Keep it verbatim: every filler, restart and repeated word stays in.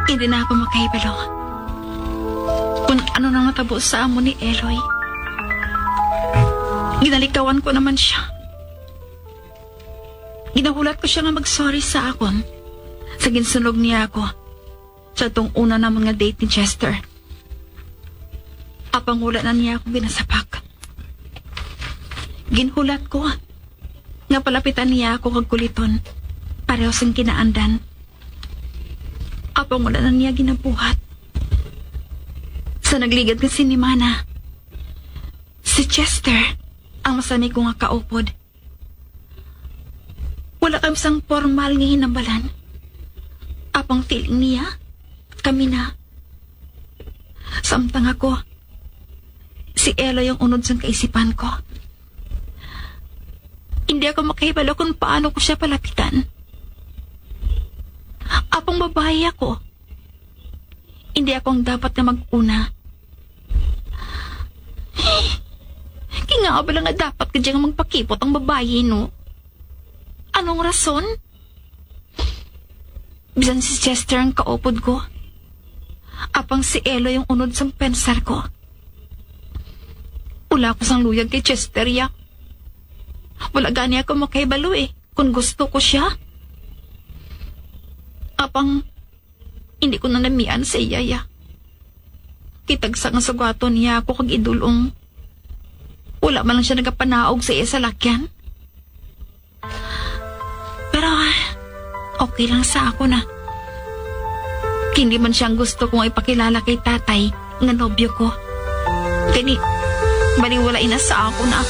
Hindi na ako makahibalo kung ano nang natabo sa amon ni Eloy. Ginalikawan ko naman siya. Ginahulat ko siya nga mag-sorry sa akon sa ginsunog niya ako sa tong una namon nga date ni Chester. Apang wala na niya ako ginasapak. Ginhulat ko nga palapitan niya ako kag kuliton, pareho sang kinaandan. Apang wala na niya ginabuhat. Sa nagligad nga sinimana, si Chester ang masami ko nga kaupod. Wala kami sang formal nga hinambalan. Apang feeling niya, kami na. Samtang ako, si Eloy ang unod sang kaisipan ko. Hindi ako makahibalo kung paano ko siya palapitan. Apang babayi ako. Hindi ako ang dapat nga mag-una. Kinga ba lang nga dapat ka dyan nga magpakipot ang babayi, no? Anong rason? Bisan si Chester ang kaupod ko. Apang si Eloy ang unod sang pensar ko. Wala ko sang luyag kay Chester, ya. Wala gani ako makahibalo, eh, kung gusto ko siya. Apang hindi ko na namian sa iya, ya. Kitagsa nga sugaton niya ako kag idulong. Wala man lang siya nagapanaog sa iya salakyan. Pero, ah, okay lang sa ako na. Hindi man siya ang gusto kong ipakilala kay tatay nga nobyo ko. Kani, baliwala ina sa ako na.